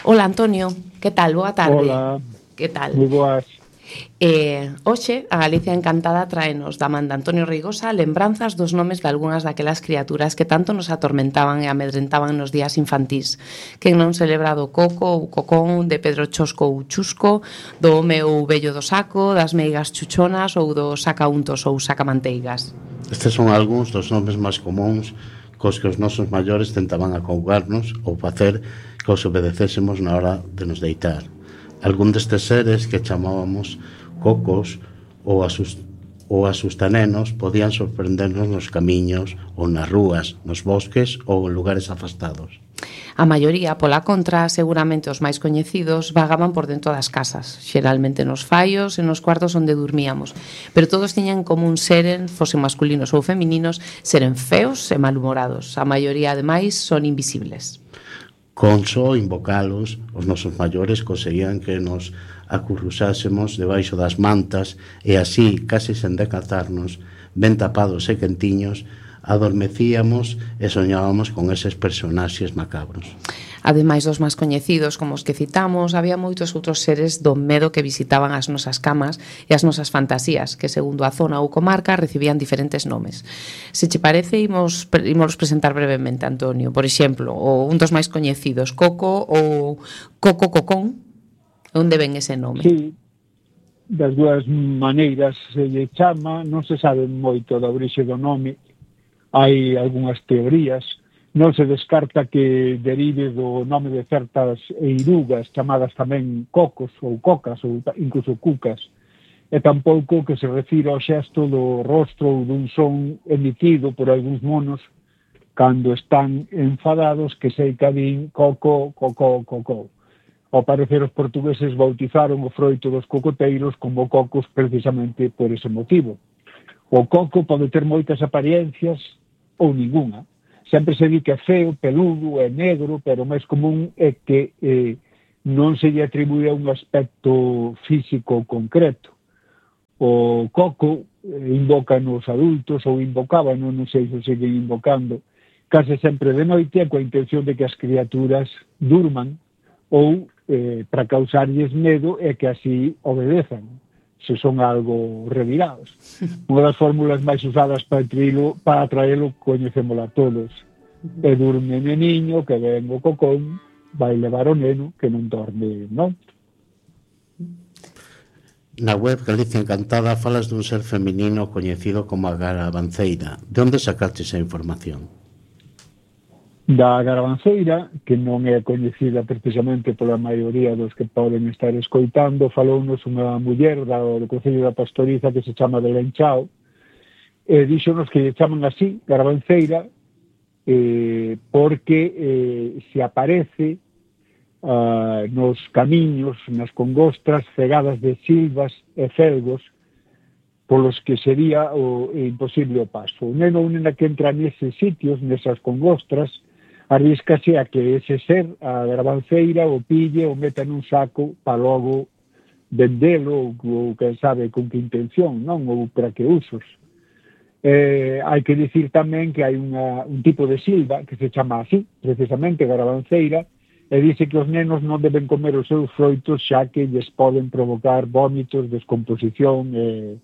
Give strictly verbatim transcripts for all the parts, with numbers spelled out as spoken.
Hola, Antonio, que tal? Boa tarde. Hola, Que tal? moi boas. Eh, hoxe, a Galicia Encantada traenos da man de Antonio Reigosa lembranzas dos nomes de algunhas daquelas criaturas que tanto nos atormentaban e amedrentaban nos días infantís. Quen non se lembra do Coco ou Cocón, de Pedro Chosco ou Chusco, do home ou vello do saco, das meigas chuchonas ou do sacauntos ou sacamanteigas. Estes son algúns dos nomes máis comúns cos que os nosos maiores tentaban acougarnos ou facer que os obedecésemos na hora de nos deitar. Algún destes seres que chamábamos cocos ou, asust ou asustanenos podían sorprendernos nos camiños ou nas rúas, nos bosques ou en lugares afastados. A maioría, pola contra, seguramente os máis coñecidos, vagaban por dentro das casas, xeralmente nos faios e nos cuartos onde dormíamos, pero todos tiñan como un seren, fosen masculinos ou femininos, seren feos e malhumorados. A maioría, ademais, son invisibles. Con só invocalos, os nosos maiores conseguían que nos acurrusásemos debaixo das mantas e así, case sen decatarnos, ben tapados e quentiños, adormecíamos e soñábamos con eses personaxes macabros. Ademais dos máis coñecidos, como os que citamos, había moitos outros seres do medo que visitaban as nosas camas e as nosas fantasías, que segundo a zona ou comarca recibían diferentes nomes. Se che parece, imos, imos presentar brevemente, Antonio. Por exemplo, o un dos máis coñecidos, Coco ou Coco Cocón. Onde ven ese nome? Sí, das dúas maneiras se lle chama, non se sabe moito da orixe do nome, hai algunhas teorías. Non se descarta que derive do nome de certas eirugas chamadas tamén cocos ou cocas ou incluso cucas, e tampouco que se refira ao xesto do rostro ou dun son emitido por algúns monos cando están enfadados que sei que din coco, coco, coco. Ao parecer os portugueses bautizaron o froito dos cocoteiros como cocos precisamente por ese motivo. O coco pode ter moitas apariencias ou ninguna. Sempre se di que é feo, peludo, é negro, pero o máis común é que eh, non se lle atribúe a un aspecto físico concreto. O coco eh, invocan os adultos ou invocaban, non sei se siguen invocando, case sempre de noite coa intención de que as criaturas durman ou eh, para causarlles medo e que así obedezan, se son algo revirados. Unha das fórmulas máis usadas para atraelo, para atraelo coñecémola todos. E durme o niño, que ven o cocón, vai levar o neno, que non dorme, non? Na web Galicia Encantada falas dun ser feminino coñecido como a Garabanceira. De onde sacaste esa información? Da Garabanceira, que non é coñecida precisamente pola maioría dos que poden estar escoitando, falounos unha muller do Concello da Pastoriza que se chama Belén Chao, e díxonos que lle chaman así, Garabanceira, eh, porque eh, se aparece uh, nos camiños, nas congostras cegadas de silvas e felgos polos que sería o, imposible o paso. O neno ou nena que entra neses sitios, nesas congostras, arriscase a que ese ser, a Garabanceira, o pille o meta nun saco para logo vendelo ou, ou quen sabe con que intención, non? Ou para que usos. Eh, hai que dicir tamén que hai unha, un tipo de silva que se chama así, precisamente Garabanceira, e dice que os nenos non deben comer os seus froitos xa que lles poden provocar vómitos, descomposición e,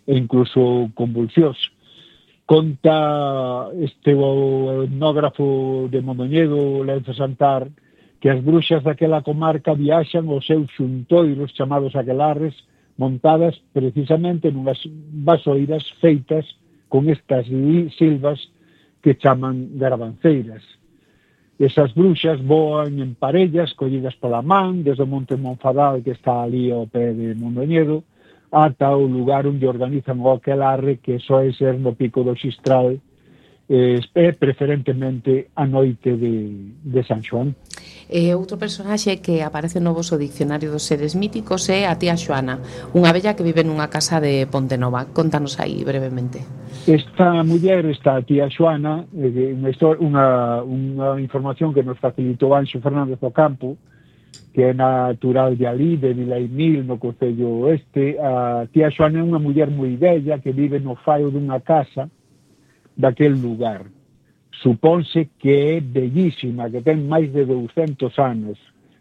e incluso convulsións. Conta este o etnógrafo de Mondoñedo, Lenzo Santar, que as bruxas daquela comarca viaxan aos seus xuntoiros chamados aquelarres, montadas precisamente nunhas vasoiras feitas con estas silvas que chaman garabanceiras. Esas bruxas voan en parellas, collidas pola man, desde o Monte Monfadal, que está ali ao pé de Mondoñedo, ata o lugar onde organizan o aquelarre, que soe ser no Pico do Xistral, e preferentemente a noite de, de San Xoán. E outro personaxe que aparece no voso diccionario dos seres míticos é a tía Xoana, unha vella que vive nunha casa de Pontenova. Contanos aí brevemente. Esta muller, esta tía Xoana, unha, unha, unha información que nos facilitou Anxo Fernández Ocampo, que é natural de ali, de Vilaimil, no Concello Oeste. A tía Xoana é unha muller moi bella que vive no faio dunha casa daquel lugar. Supónse que é bellísima, que ten máis de douscentos anos.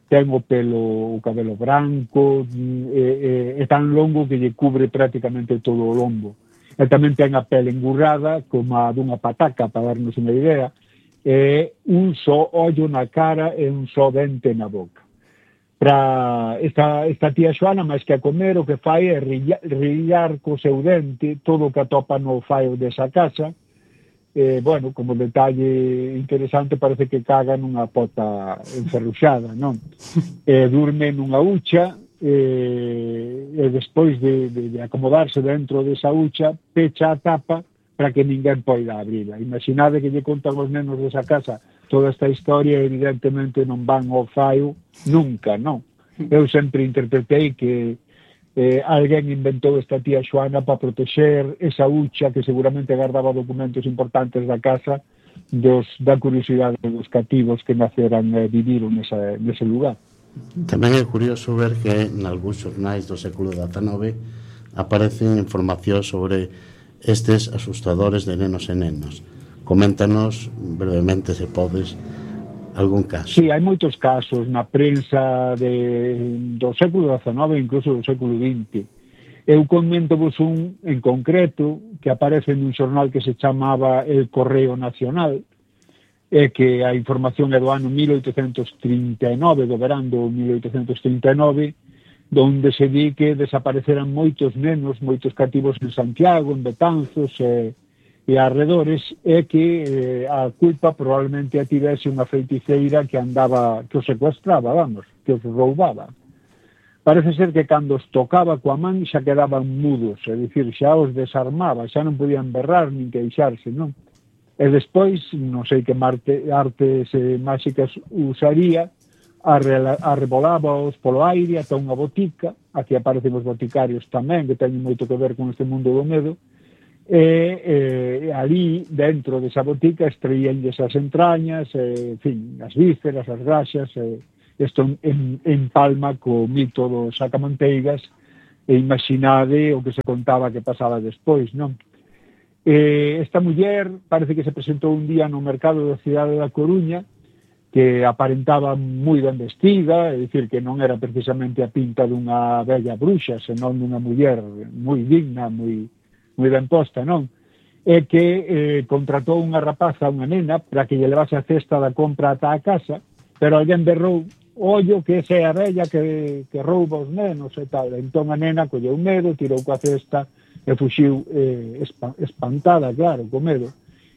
ten o pelo, o cabelo branco, e, e, é tan longo que lle cubre prácticamente todo o lombo. E tamén ten a pele engurrada, como a dunha pataca, para darnos unha idea, e un só ollo na cara e un só dente na boca. Para esta, esta tía Xoana, máis que a comer, o que fai é rillar, rillar co seu dente todo o que atopa no faio desa casa. Eh, bueno, como detalle interesante, parece que caga nunha pota enferruxada, non? Eh, durme nunha hucha, eh, e despois de, de, de acomodarse dentro desa hucha, pecha a tapa para que ninguén poida abrila. Imaginade que lle contan os nenos desa casa toda esta historia, evidentemente non van ao faio nunca, non? Eu sempre interpretei que eh, alguén inventou esta tía Xoana para protexer esa hucha que seguramente guardaba documentos importantes da casa dos, da curiosidade dos cativos que naceran e eh, viviron nesa, nese lugar. Tamén é curioso ver que en algúns xornais do século dezenove aparecen información sobre estes asustadores de nenos e nenas. Coméntanos brevemente, se podes, algún caso. Sí, hai moitos casos na prensa de, do século dezenove, incluso do século vinte. Eu comento-vos un en concreto que aparece nun xornal que se chamaba El Correo Nacional, e que a información é do ano mil oitocentos trinta e nove, do verán do mil oitocentos trinta e nove, donde se di que desapareceran moitos nenos, moitos cativos en Santiago, en Betanzos e, e arredores, e que eh, a culpa probablemente a tivese unha feiticeira que andaba, que os secuestraba, vamos, que os roubaba. Parece ser que cando os tocaba coa man xa quedaban mudos, é dicir, xa os desarmaba, xa non podían berrar nin queixarse, non? E despois, non sei que marte, artes eh, máxicas usaría, arrebolábaos polo aire ata unha botica, aquí aparecen os boticarios tamén, que teñen moito que ver con este mundo do medo, e eh, ali, dentro desa botica, extraíanlles as entrañas, eh, en fin, as vísceras, as graxas, e isto en, en palma co mito dos sacamanteigas, e imaginade o que se contaba que pasaba despois, non? Eh, esta muller parece que se presentou un día no mercado da cidade da Coruña, que aparentaba moi ben vestida, é dicir, que non era precisamente a pinta dunha bella bruxa, senón dunha muller moi digna, moi, moi ben posta, non? E que eh, contratou unha rapaza, unha nena, para que lle levase a cesta da compra ata a casa, pero alguén berrou, ollo, que esa é a bella que, que rouba os nenos e tal. Entón a nena colleu medo, tirou coa cesta e fuxiu eh, espantada, claro, co medo.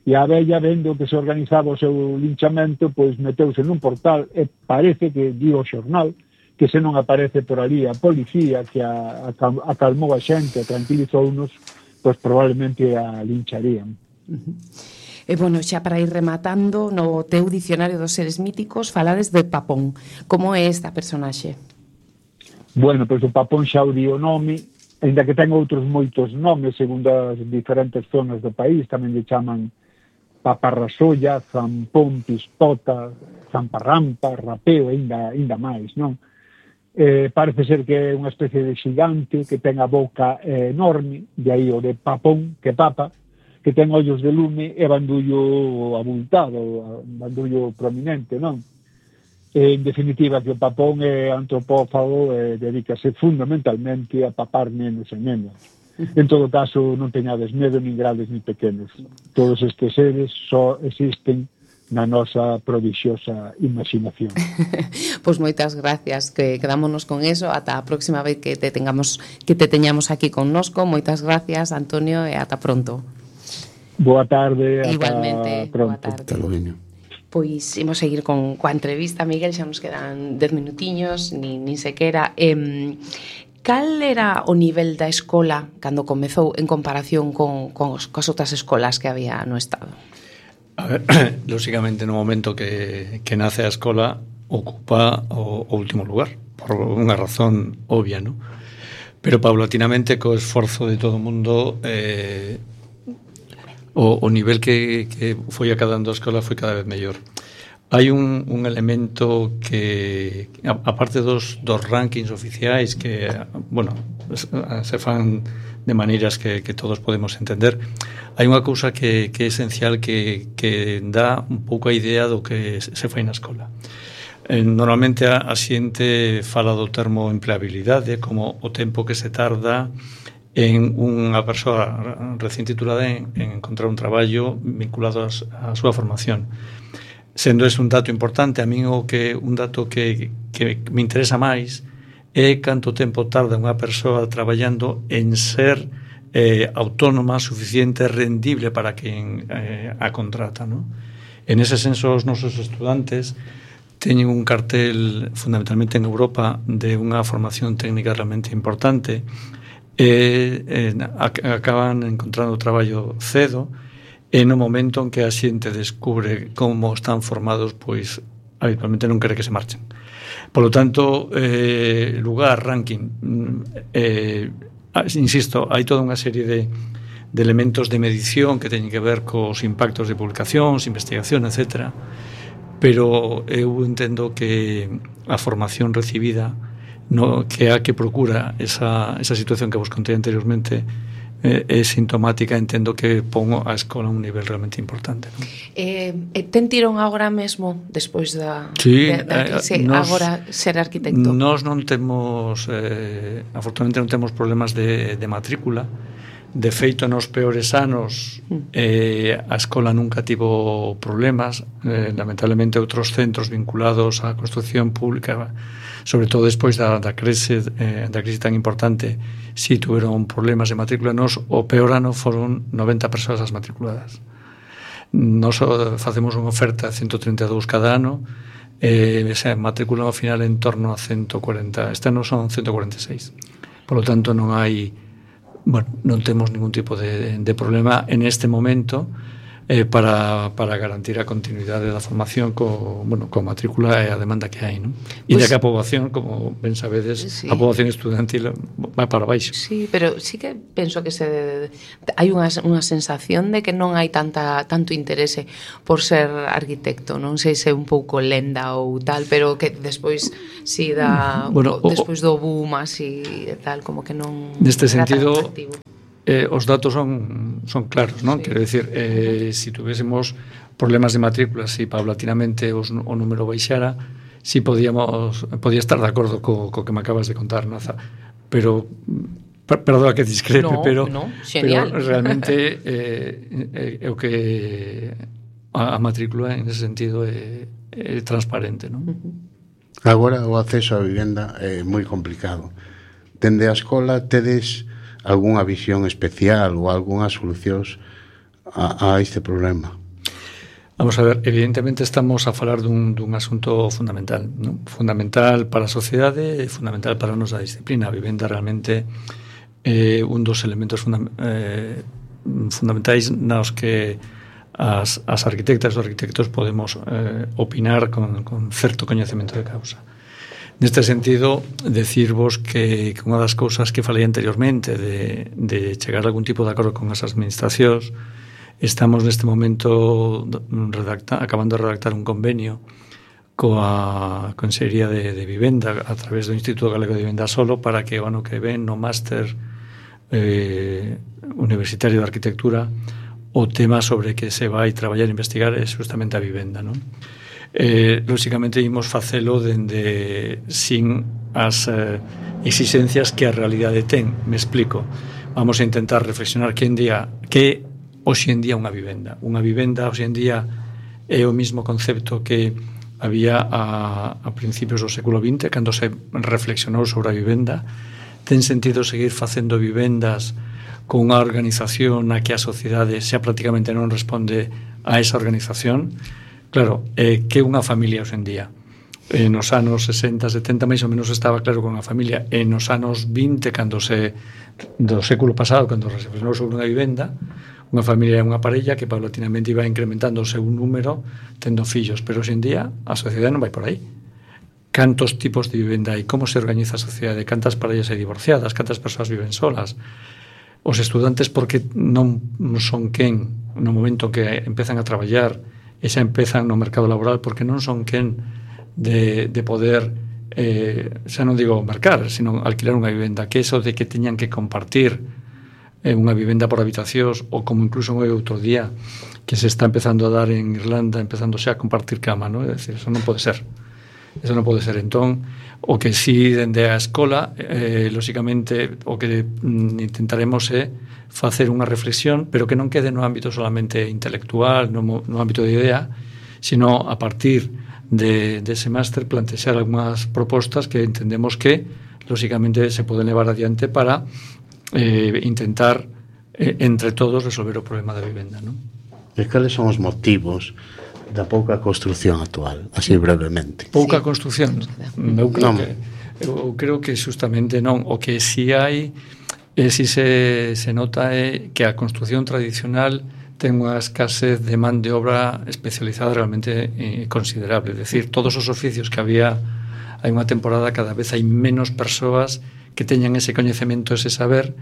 E a vella, vendo que se organizaba o seu linchamento, pois meteuse nun portal e parece que di o xornal que se non aparece por ali a policía que a, a, acalmou a xente, a tranquilizounos, pois probablemente a lincharían. Uh-huh. E, bueno, xa para ir rematando, no teu dicionario dos seres míticos falades de Papón. Como é esta personaxe? Bueno, pois o Papón xa o di o nome, ainda que ten outros moitos nomes segundo as diferentes zonas do país, tamén lle chaman Paparrasolla, Zampón, Pispota, Zamparrampa, Rapeo, ainda, ainda máis, non? Eh, parece ser que é unha especie de xigante que ten a boca eh, enorme, de aí o de Papón, que papa, que ten ollos de lume e bandullo abultado, bandullo prominente, non? E, en definitiva, que o Papón é antropófago e dedícase fundamentalmente a papar nenos e nenas. En todo caso, non teñades medo nin grandes nin pequenos. Todos estes seres só existen na nosa prodixiosa imaginación. Pois moitas gracias, que quedámonos con eso. Ata a próxima vez que te tengamos que te teñamos aquí connosco. Moitas gracias, Antonio, e ata pronto. Boa tarde, ata igualmente, pronto. Boa tarde. Pois imos seguir con coa entrevista, Miguel, xa nos quedan dez minutiños, nin, nin sequera. Eh, cal era o nivel da escola cando comezou en comparación con, con os, coas outras escolas que había no Estado? A ver, lógicamente no momento que, que nace a escola ocupa o, o último lugar, por unha razón obvia, ¿no? Pero paulatinamente, co esforzo de todo o mundo, eh, o, o nivel que, que foi acadando a escola foi cada vez mellor. Hai un, un elemento que, aparte dos, dos rankings oficiais que, bueno, se fan de maneiras que, que todos podemos entender, hai unha cousa que, que é esencial que, que dá un pouco a idea do que se fai na escola. Eh, normalmente a, a xente fala do termo empleabilidade como o tempo que se tarda en unha persoa recién titulada en, en encontrar un traballo vinculado á súa formación. Sendo ese un dato importante, a min o que un dato que, que me interesa máis é canto tempo tarda unha persoa traballando en ser eh, autónoma, suficiente, rendible para quen eh, a contrata, ¿no? En ese senso, os nosos estudantes teñen un cartel fundamentalmente en Europa de unha formación técnica realmente importante e eh, acaban encontrando traballo cedo. E no momento en que a xente descubre como están formados, pois habitualmente non quere que se marchen. Por lo tanto, eh, lugar, ranking, eh, insisto, hai toda unha serie de, de elementos de medición que teñen que ver cos impactos de publicacións, investigación, etcétera. Pero eu entendo que a formación recibida, no, que a que procura esa, esa situación que vos contei anteriormente, é, é sintomática, entendo que pongo a escola a un nivel realmente importante, ¿no? Eh, ten tirón agora mesmo despois da, sí, de, da que se, nos, agora ser arquitecto? Nós non temos eh, afortunadamente non temos problemas de, de matrícula. De feito, nos peores anos eh, a escola nunca tivo problemas. eh, lamentablemente outros centros vinculados á construcción pública, sobre todo despois da, da, crise, eh, da crise tan importante, si tuveron problemas de matrícula. Nos, o peor ano foron noventa persoas as matriculadas. Nos facemos unha oferta de ciento treinta e dous cada ano, e eh, se matriculan ao final en torno a ciento cuarenta. Este ano son ciento cuarenta e seis. Por lo tanto, non hai, bueno, non temos ningún tipo de, de problema en este momento eh, para, para garantir a continuidade da formación co, bueno, co matrícula e a demanda que hai, non? E pues, de que a poboación, como ben sabedes, sí, a poboación estudantil vai para baixo. Sí, pero sí que penso que se hai unha, unha sensación de que non hai tanta tanto interese por ser arquitecto. Non sei se é un pouco lenda ou tal, pero que despois si da, bueno, o, despois do boom así e tal, como que non neste sentido Eh, os datos son, son claros, non? Sí. Quero dicir, eh, si tuvésemos problemas de matrícula, si paulatinamente os, o número baixara, si podíamos, podía estar de acordo co, co que me acabas de contar, Naza, pero per, perdón que discrepe, no, pero, no, pero realmente eh, é o que a, a matrícula en ese sentido é, é transparente, non? Agora o acceso á vivenda é moi complicado. Dende a escola tedes algunha visión especial ou algunhas solucións a, a este problema? Vamos a ver, evidentemente estamos a falar dun, dun asunto fundamental, ¿no? Fundamental para a sociedade e fundamental para a nosa disciplina. A vivenda realmente é un dos elementos funda, eh, fundamentais nos que as, as arquitectas e os arquitectos podemos eh, opinar con, con certo coñecemento de causa. Neste sentido, decirvos que, que unha das cousas que falei anteriormente de, de chegar a algún tipo de acordo con as administracións, estamos neste momento redacta, acabando de redactar un convenio coa Consellería de, de Vivenda a través do Instituto Galego de Vivenda Solo para que o ano que ven no máster eh, universitario de arquitectura o tema sobre que se vai traballar e investigar é justamente a vivenda, non? Eh, lógicamente imos facelo dende sin as eh, exigencias que a realidade ten. Me explico. Vamos a intentar reflexionar que en día que hoxe en día unha vivenda. Unha vivenda hoxe en día é o mismo concepto que había a, a principios do século vinte, cando se reflexionou sobre a vivenda. Ten sentido seguir facendo vivendas con unha organización na que a sociedade xa prácticamente non responde a esa organización. Claro, eh, que unha familia hoxe en día? Eh, nos anos sesenta, setenta, máis ou menos estaba claro con a familia. E nos anos vinte, cando se do século pasado, cando se reflexionou sobre unha vivenda, unha familia é unha parella que paulatinamente iba incrementando o seu número tendo fillos, pero hoxe en día a sociedade non vai por aí. Cantos tipos de vivenda hai? Como se organiza a sociedade? Cantas parellas hai divorciadas? Cantas persoas viven solas? Os estudantes, porque non son quen no momento que empezan a traballar e xa empezan no mercado laboral, porque non son quen de, de poder eh, xa non digo mercar, sino alquilar unha vivenda, que eso de que teñan que compartir eh, unha vivenda por habitacións, ou como incluso moi outro día que se está empezando a dar en Irlanda, empezando xa a compartir cama, ¿no? É dicir, eso non pode ser. Eso non pode ser. Entón, o que si dende a escola, eh, lóxicamente, o que mm, intentaremos é facer unha reflexión, pero que non quede no ámbito solamente intelectual, no, no ámbito de idea, sino a partir de, de ese máster plantexar algunhas propostas que entendemos que, lóxicamente, se poden levar adiante para eh, intentar, eh, entre todos, resolver o problema da vivenda, non? E cales son os motivos da pouca construción actual, así brevemente? Pouca Sí. construción. Eu creo Non. que eu creo que justamente non, o que si hai e si se se nota é que a construción tradicional ten unha escasez de man de obra especializada realmente eh, considerable, é dicir, todos os oficios que había hai unha temporada, cada vez hai menos persoas que teñan ese coñecemento, ese saber,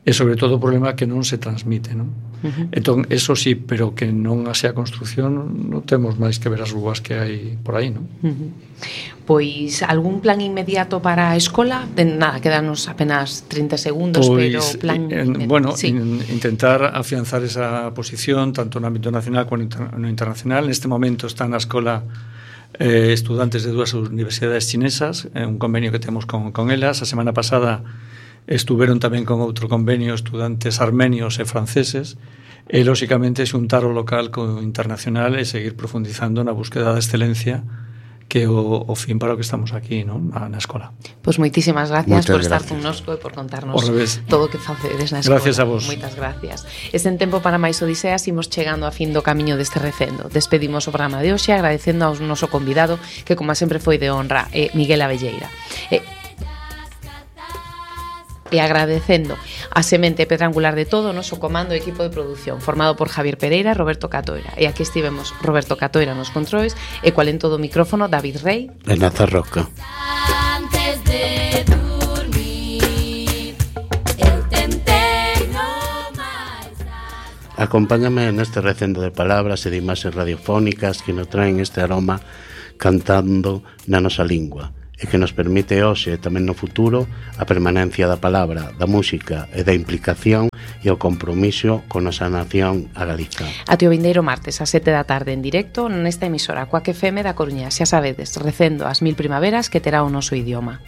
e sobre todo o problema que non se transmite, non? Uh-huh. Entón, eso sí, pero que non sea construción, non temos máis que ver as rúas que hai por aí, non? Uh-huh. Pois algún plan inmediato para a escola? De nada, quedanos apenas trinta segundos, Pois, pero plan eh, inmediato. bueno, sí. in, intentar afianzar esa posición tanto no ámbito nacional como no internacional. Neste momento están na escola eh, estudantes de dúas universidades chinesas, eh, un convenio que temos con, con elas. A semana pasada estuveron tamén con outro convenio estudantes armenios e franceses, e lóxicamente xuntar o local co internacional e seguir profundizando na búsqueda da excelencia, que é o, o fin para o que estamos aquí, non? Na, na escola. Pois moitísimas gracias Moitas por estar gracias. connosco e por contarnos Ao revés. todo o que facedes na escola. Gracias a vos. Moitas gracias. E sen tempo para máis odiseas, imos chegando a fin do camiño deste recendo. Despedimos o programa de hoxe agradecendo ao noso convidado, que como sempre foi de honra, é Miguel Abelleira. E E agradecendo a semente pedra angular de todo o noso comando e equipo de produción, formado por Javier Pereira e Roberto Catoira. E aquí estivemos Roberto Catoira nos controis e cual en todo o micrófono David Rey E Naza Roca. Antes de dormir, eu tentei no máis alto. Acompáñame neste recendo de palabras e de imaxes radiofónicas que nos traen este aroma cantando na nosa lingua e que nos permite hoxe e tamén no futuro a permanencia da palabra, da música e da implicación e o compromiso con nosa nación a Galiza. Ate o vindeiro martes a sete da tarde en directo nesta emisora Cuac F M da Coruña. Xa sabedes, recendo as mil primaveras que terá o noso idioma.